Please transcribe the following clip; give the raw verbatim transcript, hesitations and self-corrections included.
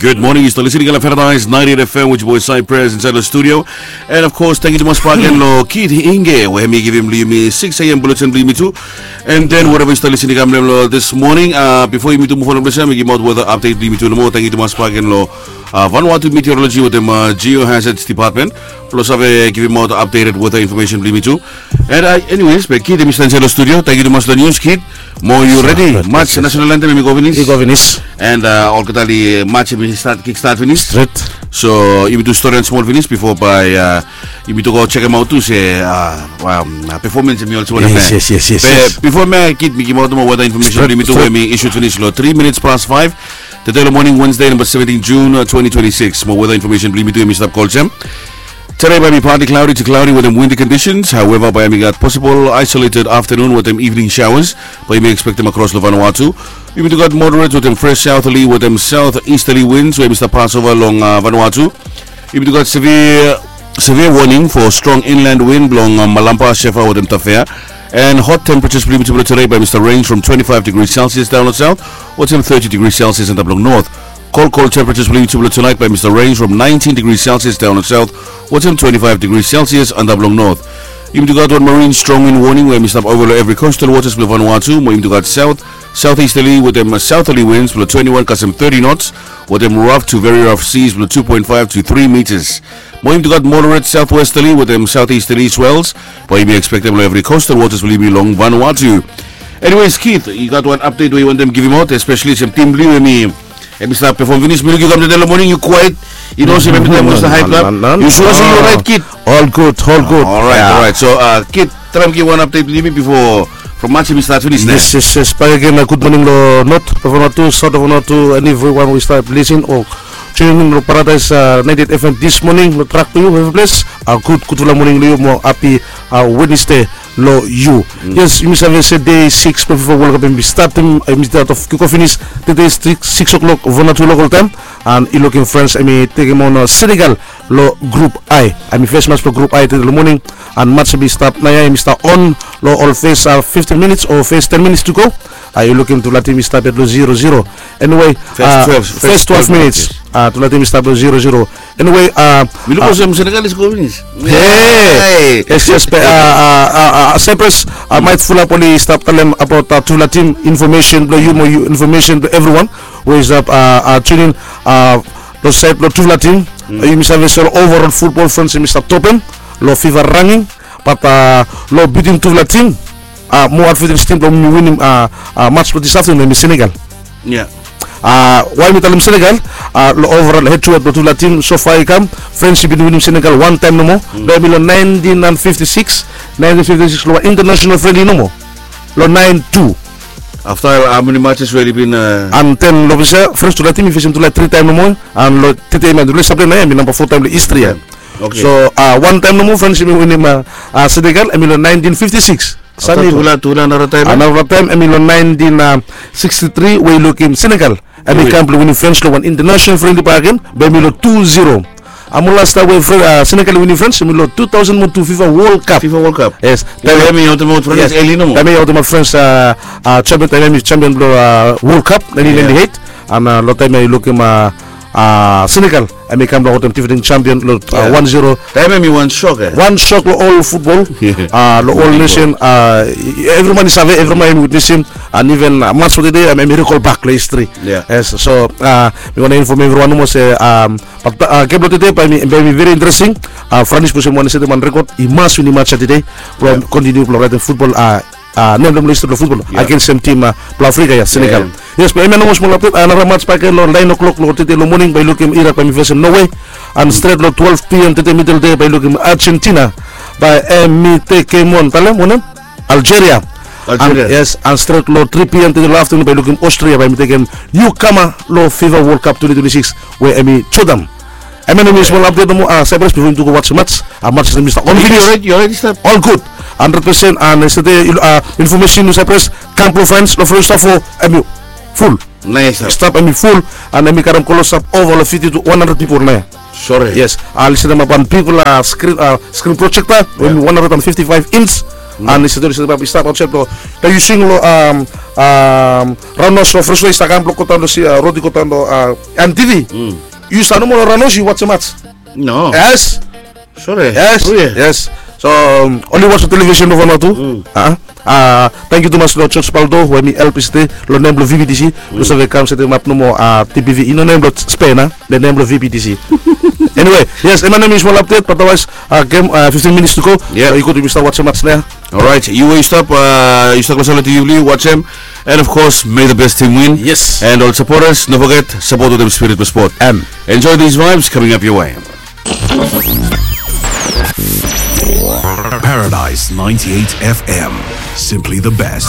Good morning, yu stap listening long Paradise ninety-eight F M with your boy Cypress inside the studio. And of course, tangkiu tumas bak agen long Kid Inge we hemi givim long yumi six a.m. bulletin blong yumi tu. And then whatever yu stap listening long this morning, uh, bifo yumi tu move on long ples ya, mi givimaot weather update blong yumi tu nomo. Tangkiu tumas bak agen long uh, Vanuatu Meteorology wetem uh, Geohazards Department blong save givimaot updated weather information blong yumi tu. And uh, anyways, be Kid hemi stap insait long studio. Tangkiu tumas long news, Kid. Mo yu redi? Mats national anthem hemi go finis. I go finis. And uh, olgeta Mats hemi start, kick start finis. Stret. So yumi tu stori wan smol finis bifo bae uh, yumi tu go sekemaot tu se uh, um, uh, performance hemi olsem wanem. Yes, yes, yes, yes. Be bifo mi, Kid, mi givimaot mo weather information blong yumi tu we hemi issued finis long three minutes past five. Tede long moning, Wednesday, namba seventeen June, uh, twenty twenty-six. Mo weather information blong yumi tu hemi stap go olsem. Today bae hemi partly cloudy to cloudy wetem windy conditions. However, bae hemi gat possible isolated afternoon wetem evening showers bae yumi expectem across long Vanuatu. Yumi tu gat moderate wetem fresh southerly wetem southeasterly winds we hemi stap pasova long uh, Vanuatu. Yumi tu gat severe, severe warning for strong inland wind blong uh, Malampa, Shefa wetem Tafea. And hot temperatures blong yumi tu blong today bae hemi stap range from twenty-five degrees Celsius down long south wetem thirty degrees Celsius antap long north. Cold, cold temperatures blong yumi tu blong tonight bae hemi stap range from nineteen degrees Celsius down long south wetem twenty-five degrees Celsius antap long north. Yumi tu gat wan marine strong wind warning we hemi stap ova long evri coastal waters blong Vanuatu. Mo yumi tu gat south, southeasterly wetem southerly winds blong twenty-one kasem thirty knots wetem rough to very rough seas blong two point five to three meters. Mo yumi tu gat moderate southwesterly wetem southeasterly swells bae yumi expectem long evri coastal waters blong yumi long Vanuatu. Anyways, Kid, yu gat wan update we yu wantem givimaot, especially olsem tim blong yu hemi, hemi stap perform finis. Mi luk yu kam tede long moning, yu kwaet. Yu no olsem evri taem yu stap hype up. Yu sua se yu orait, Kid? All good, all good. Alright, alright. So uh, Kid, traem givim wan update blong yumi bifo from Mats hemi start finis. Yes, yes, yes. Bakegen, uh, gud moning long North of Vanuatu, South of Vanuatu, and everyone we stap listen o tuning in long Paradise uh, ninety-eight F M this morning. Long track blong yu evri ples, uh, gud, gudfala moning long yu mo happy uh, Wednesday long yu. Yes, yumi save se dei sikis blong FIFA World Cup hemi stap, hemi stap of kick off finis tede six, six o'clock Vanuatu local time. And i lukim France hemi tekem on uh, Senegal long Group I. Hemi fes mats blong Group I tede long moning. And mats hemi stap naoia, hemi stap on long ol fes uh, fifteen minutes o fes ten minutes to go. Uh, i lukim tufala tim i stap yet long zero zero. Anyway, fes uh, twelve, fes fes twelve twelve minutes. Minutes. Uh, tufala tim i stap long zero zero. Anyway, uh, mi luk uh, olsem Senegal i score finis. Hey! Hey! Yes, yes, be, uh, uh, uh, uh, Cyprus, uh, maet fulap oli stap talem abaot uh, tufala tim, information blong yu mo yu, information blong everyone we i stap uh, uh, tune in uh, long saed blong tufala tim. Mm. Uh, yumi save se long overall football France hemi stap topem long FIFA ranking. But uh, long between tufala tim, uh, mo advantage tim blong mi winim uh, uh, mats blong this afternoon hemi Senegal. Yeah. Uh, wae mi talem Senegal, uh, long overall head to head blong tufala tim so far i kam, France i bin winim Senegal wan taem nomo. Mm. Be hemi long nineteen fifty-six, nineteen fifty-six long wan international friendly nomo. Long nine two. Afta uh, how many matches we oli bin uh, and then long ples ya France tufala tim i fesem tufala tri taem nomo. And long tede man tufala i stap long naoia hemi namba fo taem long history ya. Okay. So uh, wan taem nomo France hemi winim uh, uh, Senegal, hemi long nineteen fifty-six. Afta tufala, tufala nara taem, eh? Anara taem hemi long nineteen sixty-three we i lukim Senegal hemi kam blong winim France long wan international friendly bakegen, be hemi long two zero. Hemi last taem we Fran-, uh, Senegal i winim France hemi long two thousand mo two FIFA World Cup. FIFA World Cup. Yes. Taem hemi aotem aot France eli nomo. Taem hemi aotem aot France uh, uh, champion, taem hemi champion blong uh, World Cup nineteen ninety-eight. And uh, long taem ya i lukim uh, uh, Senegal hemi kam blong aotem defending champion long uh, one zero. Taem hemi wan shock, eh? Wan shock long ol football, uh, long ol nation, uh, evriman i save, evriman hemi witnesem. And even uh, mats blong tede hemi recall bak long history. Yeah. Yes, so uh, mi wantem inform evriwan nomo se um, but uh, gem blong tede bae hemi, bae hemi very interesting. Uh, France blong olsem wan i setem wan record, i mas winim mats ya tede blong continue blong raetem football uh, uh, nem blong history blong football against sem tim uh, blong Africa ya, Senegal. Yes, be hemia nomo smol update. Anara mats bakegen long nine o'clock long tede long moning bae i lukim Iraq bae hemi fesem Norway. And stret long twelve p.m. tede middle dei bae i lukim Argentina bae hemi tekem on, talem wanem? Algeria. Algeria. And, yes, and stret long three p.m. tede long afternoon bae i lukim Austria bae hemi tekem newcomer long FIFA World Cup twenty twenty-six we hemi Jordan. Hemia nao hemi smol update nomo, uh, Cyprus, bifo yumi tu go wajem mats. Uh, mats hemi stap on finis. Yu orait, yu orait, stap. All good. Hundred percent. And yestede uh, information, Cyprus, kam blong France long French Star fo hemi full. Naes. Stap hemi full. And hemi karem klosap ova long fifty to one hundred pipol naoia. Sore. Yes. Uh, listenem ap on bigfala uh, screen, uh, screen projector we hemi one hundred and fifty-five inch. An i save, i save, i stap olsem to, na yu sing lo, am, am, Ranos o Fresno i stap kam blo go daon lo si, a, rod i go daon lo, a, M T V. Yu stap nomo lo Ranos, yu wajem mats. No. Yes. Sore. Yes. Yes. So, um, oli wajem televisen lo Vanuatu. A, a, tangkiu tumas lo George Paldo we mi help yestade lo nem blo V B T C. Lo save kam setemap nomo, a, T P V i no nem blo Spain, a. Lo nem blo V B T C. Anyway, yes, hemia nao mi smol update, but otherwise, a, gem, a, fifteen minutes to go. Yeah. So, yu gud, yu stap wajem mats nao. Alright, yu we yu stap, a, yu stap lo sala T V, wajem. And of course, may the best team win. Yes. And ol supporters, no foget, sapot wetem spirit blo spot. Am. Enjoy these vibes coming up your way. Paradise ninety-eight F M. Simply the best.